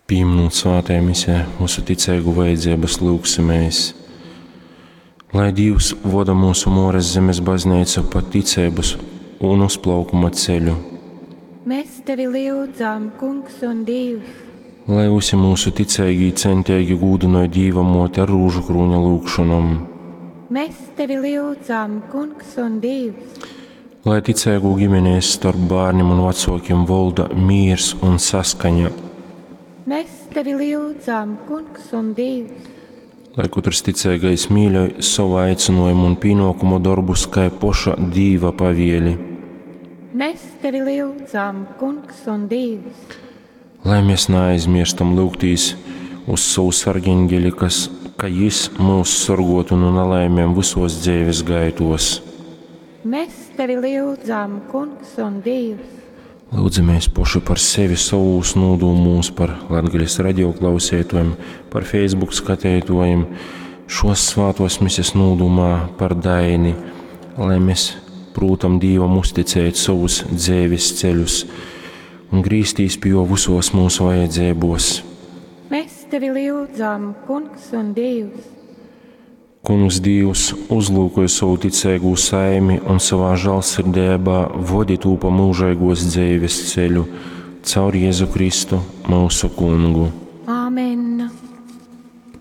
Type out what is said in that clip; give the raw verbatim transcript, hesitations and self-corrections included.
Pīminūt svātajā misē mūsu ticeigu vajadzības, lyugsimēs, lai Dīvs voda mūsu Mōras Zemes bazneicu pa ticeibas un uzplaukuma ceļu. Mēs tevi lyudzam, Kungs un Dīvs! Lai visi mūsu ticeigī centeigi gūdynoj Dīva Mōti ar rūžu krūņa lyugšonom. Mēs tevi lyudzam, Kungs un Dīvs! Lai ticeigu ģimenēs starp bērniem un vecākiem valda mīrs un saskaņa. Mēs tevi lyudzam, Kungs un Dīvs! Lai katrs ticīgais mīļoj savu aicinājumu un pienākumu darbus, kā poša Dīva pavieli. Mēs tevi lyudzam, Kungs un Dīvs! Lai mēs neaizmirstam lūgtīs uz savu sargeņģeli, kas, ka jis mūs sorgotu no nelaimēm visos dzīves gaitos. Mēs tevi lyudzam, Kungs un Dīvs! Lūdzamies poši par sevi, savus nūdūmūs, par Latgales radioklausētojiem, par Facebook skatētojiem, šos svātos mises nūdumā par Daini, lai mēs prūtam Dīvam uzticēt savus dzēvis ceļus un grīstīs pie jo visos mūsu vajadzībos. Mēs tevi lyudzam, Kungs un Dīvs! Kungs Dīvs uzlūkoja savu ticīgu saimi un savā žēlsirdībā vodi tū pa mūžīgos dzīves ceļu caur Jēzu Kristu, mūsu Kungu.